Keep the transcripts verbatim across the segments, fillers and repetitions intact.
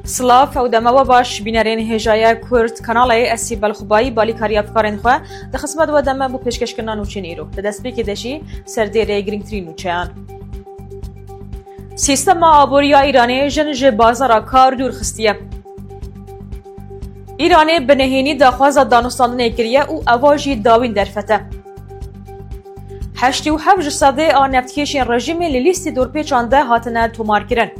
Silav û dema we baş, bînerên hêjayê Kurd kanalê, ez Sîbel Xubayî, balîkarî hevkarên xwe di xizmet we de me bo pêşkêşkirina nûçeyên îro. Di destpêkê de jî serdêrê girîngtirîn nûçeyan. Sîstema aborî ya Îranê jin ji bazara kar dûr xistiye. Îranê bi nehênî daxwaza danûstandinê kiriye û eva jî dawîn derfet e. Heştê û heft ji sedê a neftkêşên rejîmê li lîstê dorpêçan de hatine tomarkirin.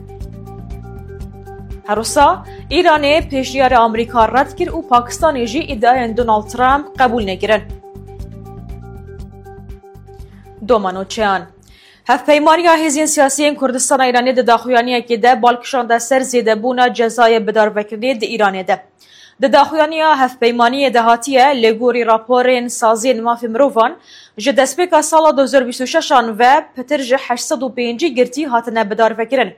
Her wisa Îranê pêşniyara Amerîka red kir û Pakistanê jî îdiayên Donald Trump qebûl nekirin. Doma nûçeyan. Hevpeymaniya Hêzên Siyasî yên Kurdistana Îranê di daxuyaniyekê de bal kişande ser zêdebûna cezayê bidarvekirinê di Îranê de. Di daxuyaniya hevpeymaniyê de hatiye, li gorî raporên saziyên mafê mirovan, ji destpêka sala du hezar bîst û şeş an ve pitir ji heşt sed û pêncî girtî hatine bidarvekirin.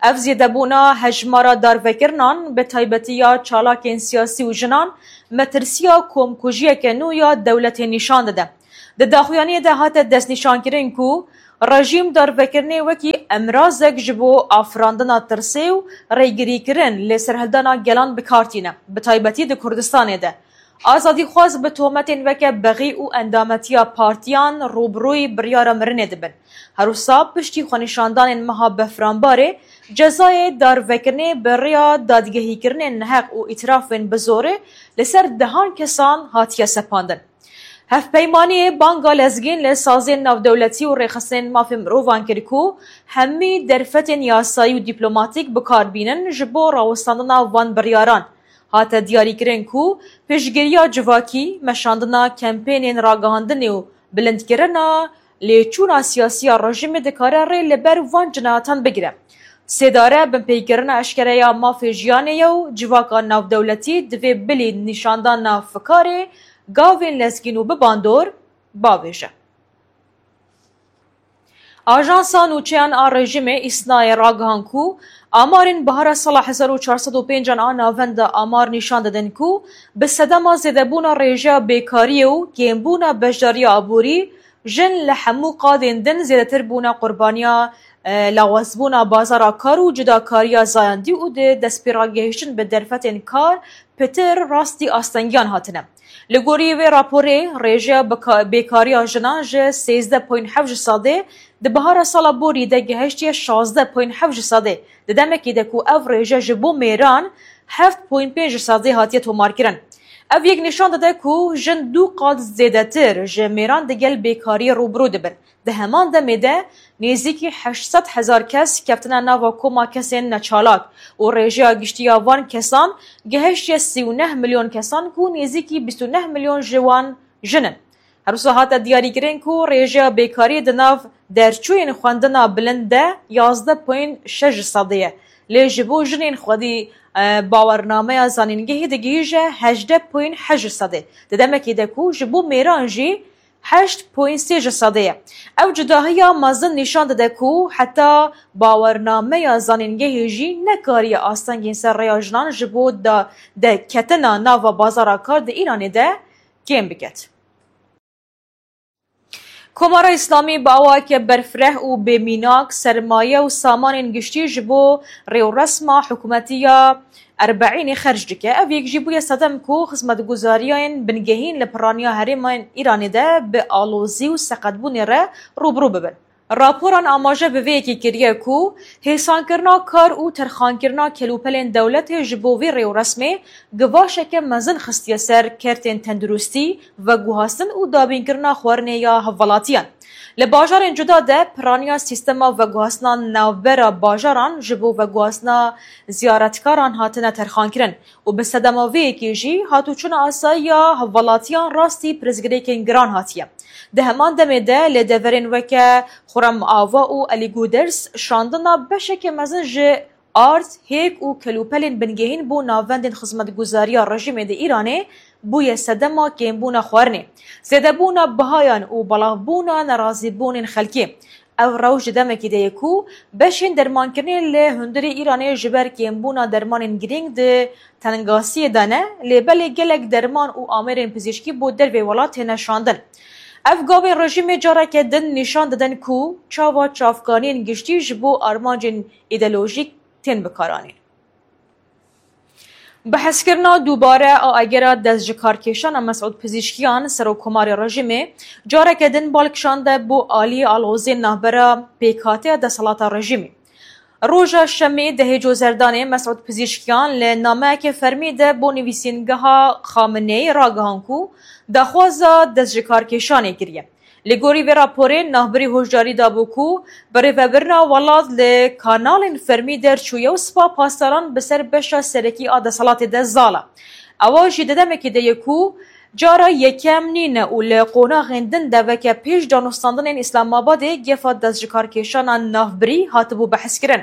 Ev zêdebûna hejmara darvekirinan, bi taybetî ya çalakên siyasî û jinan, metirsiya komkujiyeke nû ya dewletê nîşan dide. Di daxuyaniyê de hate destnîşankirin ku rejîm darvekirinê wekî emrazek ji bo afirandina tirsê û rêgirîkirin li serhildana gelan bi kar tîne, bi taybetî di Kurdistanê de. Azadîxwaz bi tometên weke bexî û endametiya partiyan rûbirûyî biryara mirinê dibin. Her wisa piştî xwenîşandanên meha Befranbarê, cezayê darvekirinê bi rêya dadgehîkirinên neheq û îtirafên bi zorê li ser dehan kesan hatiye sepandin. Hevpeymaniyê banga lezgîn li saziyên navdewletî û rêxistinên mafê mirovan kir ku hemî derfetên yasayî û dîplomatîk bi kar bînin ji bo rawestandina van biryaran. Hate diyarîkirin ku piştgiriya civakî, meşandina kempênên ragihandinê û bilindkirina lêçûna siyasî ya rejîmê dikare rê li ber van cinayatan bigire. Sêdare binpêkirina eşkere ya mafê jiyanê ye û civaka navdewletî divê bilî nîşandana fikarê gavên lezgîn û bi bandor bavêje. Ajansa nûçeyan a rejîmê, Îsnayê, ragihand ku amarên bihara sala hezar û çar sed û pênc an a navenda amar nîşan didin ku bi sedema zêdebûna rêjeya bêkariyê û kêmbûna beşdariya aborî, jin li hemû qadên din zêdetir bûne qurbaniya, e, lawazbûna bazara kar û cudakariya zayendî û di destpêragihiştin bi derfetên kar pitir rastî astengiyan hatine. Li gorî vê raporê, rêjeya bika-, bêkariya jinan ji sêzdeh point heft ji sedê di bihara sala borî de gihiştiye şazdeh point heft ji sedê. Di demekê de ku ev rêje ji bo mêran heft point pênc ji sedê hatiye tomarkirin. Ev yek nîşan dide ku jin du qat zêdetir ji mêran digel bêkariyê rûbirû dibin. Di heman demê de nêzîkî heşt sed hezar kes keftine nava koma kesên neçalak û rêjeya giştî ya van kesan gihiştiye sî û neh milyon kesan ku nêzîkî bîst û neh milyon ji wan jin in. Her wisa hate diyarîkirin ku rêjeya bêkariyê di nav derçûyên xwendina bilind de yazdeh point şeş ji sedê ye. Lê ji bo jinên xwedî, e, bawernameya zanîngehê digihîje hejdeh point heşt ji sedê. Di demekê de ku ji bo mêran jî heşt point sê ji sedê ye. Ev cudahiya mezin nîşan dide ku heta bawernameya zanîngehê jî nekariye astengên ser rêya jinan ji bo da-, derketina nava bazara kar di Îranê de kêm biket. Komara Îslamî bi awayeke berfireh û bêmînak sermaye û samanên giştî ji bo rêwresma hikûmetî ya Erbeînê xerc dike. Ev yek jî bûye sedem ku xizmetguzariyên bingehîn li piraniya herêmên Îranê de bi alozî û seqetbûnê re rûbirû bibin. Raporan amaje bi vê yekê kiriye ku hêsankirina kar û terxankirina kelûpelên dewletê ji bo vî rêwresmê givaşeke mezin xistiye ser kertên tenduristî, veguhastin û dabînkirina xwarinê ya hevwelatiyan. Li bajarên cuda de piraniya sîstema veguhastina navbera bajaran ji bo veguhastina ziyaretkaran hatine terxankirin û bi sedema vê yekê jî hatûçûna asayî ya hevwelatiyan rastî pirsgirêkên giran hatiye. Di heman demê de li deverên weke Xurrem Ava û Elî Guders şandina beşeke mezin ji ard, hêk û kelûpelên bingehîn bo navendên xizmetguzariya rejîmê di Îranê bûye sedema kêmbûna xwarinê, zêdebûna bihayan û belavbûna nerazîbûnên xelkê. Ev rewş di demekê de ye ku beşên dermankirinê li hundirê Îranê ji ber kêmbûna dermanên girîng di tengasiyê de ne, lê belê gelek derman û amêrên pizîşkî bo dervê welat têne şandin. Ev gavên rejîmê careke din nîşan didin ku çawa çavkaniyên giştî ji bo armancên îdeolojîk tên bikaranîn. Bihezkirina dubare a agera destjikarkêşana Mesûd Pizîşkiyan, serokkomarê rejîmê, careke din bal kişande bo aliyê alozê navbera pêkhateya desthilata rejîmê. Roja Şemê dehê Cozerdanê Mesûd Pizîşkiyan li nameyeke fermî de bo nivîsîngeha Xameneî ragihand ku daxwaza destjikarkêşanê kiriye. Li gorî vê raporê navbirî hişdarî dabû ku birêvebirina welat li kanalên fermî derçûye û Spa Pasdaran bi ser beşa serekî a desthilatê de zal e. Ewa jî di demekê de ye ku cara yekem nîne û li qonaxên din de weke pêş danûstandinên Îslamabadê gefa destjikarkêşana navbirî hatibû behskirin.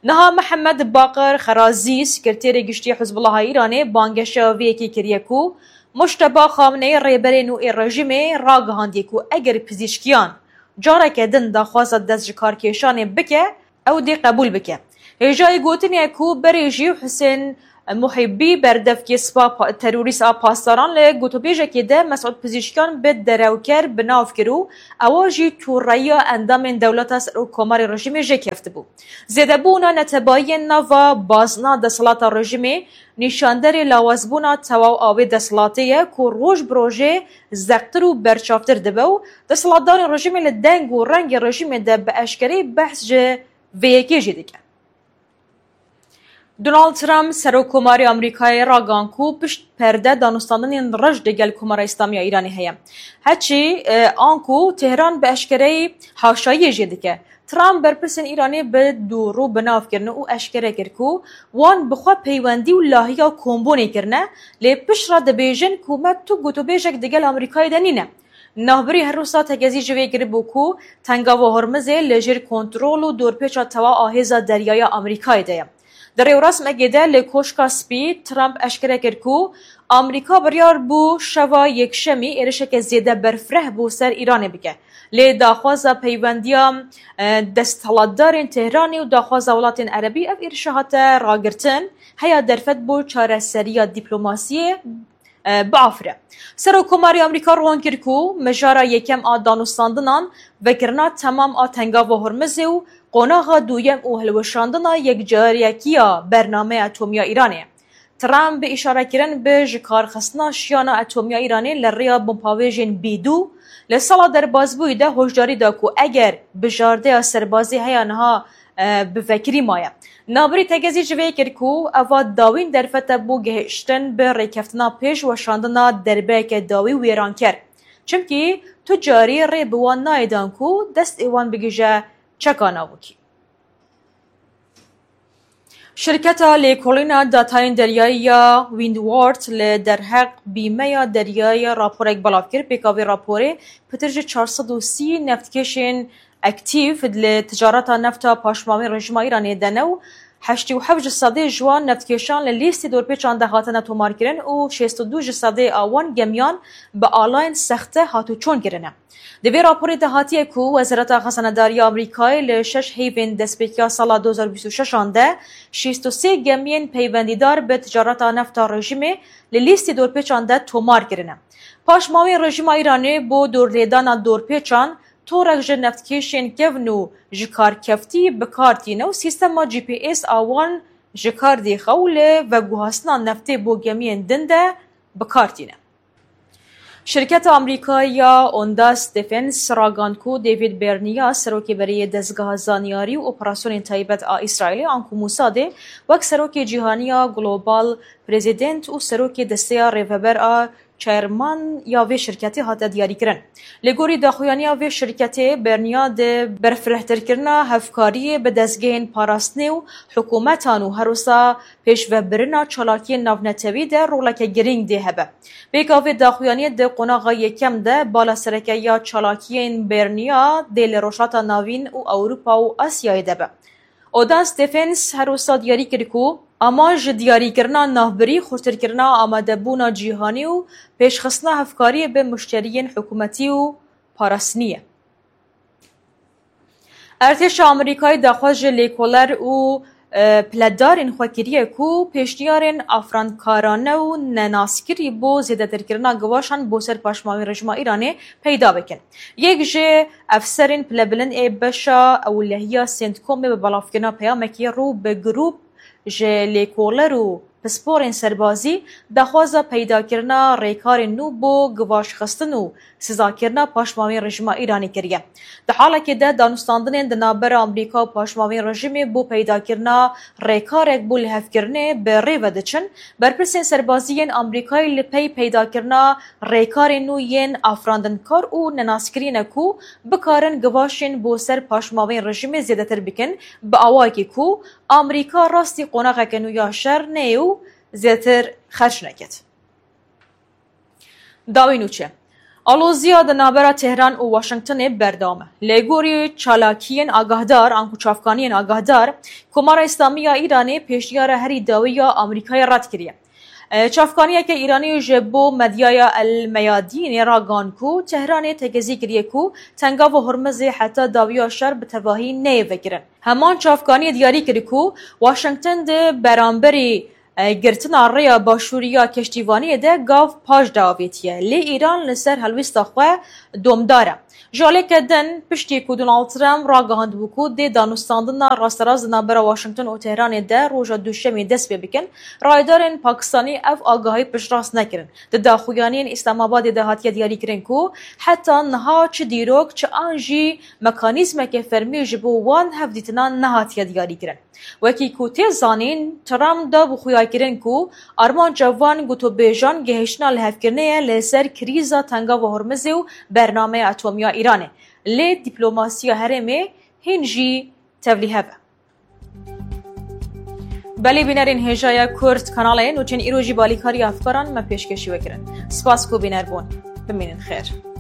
Niha Mihemed Baqir Xerazî, sekreterê giştî Hizbullaha Îranê, bangeşeya vê yekê kiriye ku Mujteba Xameneî, rêberê nû ê rejîmê, ragihandiye ku eger Pizîşkiyan careke din daxwaza destjikarkêşanê bike, ew dê qebûl bike. Hêjayî gotinê ye ku berê jî Husên Muhîbî, berdevkê Spa Pa-, terorîst a Pasdaran, li gotûbêjekê de Mesûd Pizîşkiyan bi derewker bi nav kir û ewa jî tûreya endamên dewleta serokkomarê rejîmê jê keftibû. Zêdebûna netebayiyên nava bazna desthilata rejîmê nîşanderê lawazbûna tewaw a wê desthilatê ye ku roj bi rojê zeqtir û berçavtir dibe û desthilatdarên rejîmê li deng û rengê rejîmê de bi eşkereyî behs ji vê yekê jî dike. Donald Trump, serokkomarê Amerîkayê, ragihan ku pişt perde danûstandinên reş digel Komara Îslamî ya Îranê heye. Heçî, e, anku Tehran bi eşkereyî haşayiyê jê dike. Trump berpirsên Îranê bi dûrû bi nav kirine û eşkere kir ku wan bi xwe peywendî û lahiya kombûnê kirine, lê pişt re dibêjin ku me tu gotûbêjek digel Amerîkayê de nîne. Navbirî her wisa tekezî ji vê kiribû ku Tengava Hormizê li jêr kontrol û dorpêça tewa a hêza deryaya Amerîkayê de ye. Di rêwrasmekê de li Koşka Spî, Trump eşkere kir ku Amerîka biryar bû şeva Yekşemî êrişeke zêde berfireh bo ser Îranê bike. Lê daxwaza peywendiya, e, desthilatdarên Tehranê û daxwaza welatên Erebî ev êrişa hate ragirtin, heya derfet bo çareseriya dîplomasiyê, e, biafire. Serokkomarê Amerîka ron kir ku mijara yekem a danûstandinan vekirina temam a Tengava Hormizê û qonaxa duyem û hilweşandina yekcariyekiya bernameya atomî ya Îranê ye. Trump bi îşarekirin bi jikarxistina şiyana atomî ya Îranê li rêya binpavêjên bîdû li sala derbasbûyî de hişdarî da ku eger bijardeya serbazî heya niha, e, bi vekirî maye. Navbirî tekezî ji vê kir ku eva dawîn derfet e bo gehiştin bi rêkeftina pêş weşandina derbeyeke dawî wêranker. Çimkî tu carî rê bi wan nayê dan ku destê wan bigihîje çeka navokî. Şirketa lêkolîna datayên deryayî ya Windward li derheq bîmeya deryayî raporek belav kir. Pêka vê raporê, pitir ji çar sed û sî neftkêşên aktîf li ticareta nefta paşmamê rejîma Îranê de ne û heştê û heft ji sedê ji wan neftkêşan li lîstê dorpêçan de hatine tomarkirin û şêst û du ji sedê a wan gemiyan bi alayên sexte hatûçûn kirine. Di vê raporê de hatiye ku Wezareta Xezanedarî ya Amerîkayê li şeş heyvên destpêkiya sala du hazar bîst û şeş an de şêst û sê gemiyên peywendîdar bi ticareta nefta rejîmê li lîstê dorpêçan de tomar kirine. Paşmawên rejîma Îranê bo dorlêdana dorpêçan torek ji neftkêşên kevn û jikarkeftî bi kar tîne û sîstema G P S a wan ji kar dêxe û li veguhastina neftê bo gemiyên din de bi kar tîne. Şirketa Amerîkayî ya Ondas Defense ragihand ku David Bernia, serokê berê yê Dezgeha Zanyarî û Operasyonên Taybet a Îsraîlê, anku Mosadê, wek serokê cîhanî ya Global President û serokê desteya rêveber a çerman ya vê şirketê hate diyarîkirin. Li gorî daxuyaniya vê şirketê, Bernia di berfirehtirkirina hevkariyê bi dezgehên parastinê û hikûmetan û her wisa pêşvebirina çalakiyên navnetewî de roleke girîng dê hebe. Pêka vê daxuyaniyê di qonaxa yekem de bala sereke ya çalakiyên Bernia dê li Rojhilata Navîn û Ewropa û Asyayê de be. Odans Defense her wisa diyarî kir ku amanc ji diyarîkirina navbirî, xurtirkirina amadebûna cîhanî û pêşxistina hevkariyê bi muşteriyên hikûmetî û parastinî ye. Artêşa Amerîkayê daxwaz ji lêkoler û, e, piledarên xwe kiriye ku pêşniyarên afirandkarane û nenaskirî bo zêdetirkirina givaşan bo ser paşmawên rejîma Îranê peyda bikin. Yek ji efserên pilebilind ê beşa ewlehiya Centcomê bi belavkirina peyamekê rû bi grûp ji lêkoler û pisporên serbazî daxwaza peydakirina rêkarên nû bo givaşxistin û sizakirina paşmavên rejîma Îranê kiriye. Di halekê de danûstandinên di navbera Amerîka û paşmavên rejîmê bo peydakirina rêkarek bo lihevkirinê bi rê ve diçin. Berpirsên serbazî yên Amerîkayê li pey peydakirina rêkarên nû yên afrandinkar û nenaskirî ne ku bikarin givaşên bo ser paşmavên rejîmê zêdetir bikin, bi awayekî ku Amerîka rastî qonaxeke nû ya şer neyê û zêdetir xerc neket. Dawî nûçe. Aloziya di navbera Tehran û Washingtonê berdewam e. Lê gorî çalakiyên agahdar, anku çavkaniyên agahdar, Komara Îslamî ya Îranê pêşniyara herî dawî ya Amerîkayê red kiriye. E, çavkaniyeke Îranî ji bo medyaya El Meyadînê ragan ku Tehranê tekezî kiriye ku Tengava Hormizê heta dawiya şer bi tevahî neyê vekirin. Heman çavkaniyê diyarî kir ku Washington di beramberî, e, girtina rêya başûrî ya keştîvaniyê de gav paş de avêtiye. Lê Îran li ser helwêsta xwe domdar e. Ji aliyeke din, piştî ku Donald Trump ragihandibû ku dê danûstandina rasterast di navbera Washington û Tehranê de roja Duşemê dest pê bikin, rayedarên Pakistanî ev agahî piştrast nekirin. Di daxuyaniyên Îslamabadê de hatiye diyarîkirin ku heta niha çi dîrok, çi an jî mekanîzmeke fermî ji bo wan hevdîtinan nehatiye diyarîkirin. Wekî ku tê zanîn, Trump da bi xuyakirin ku armanca van gotobêjan gihiştina lihevkirinê ye li ser krîza Tengava Hormizê û bernameya atomî ya Îranê. Lê diplomasiya herêmê hîn jî tevlîhev e. Belê bînerên hêjaya Kurd kanalê nûçên îro jî balîkariya hevkaran me pêşkêşî we kirin. Spas ku bîner bûn. Bimînin xêr.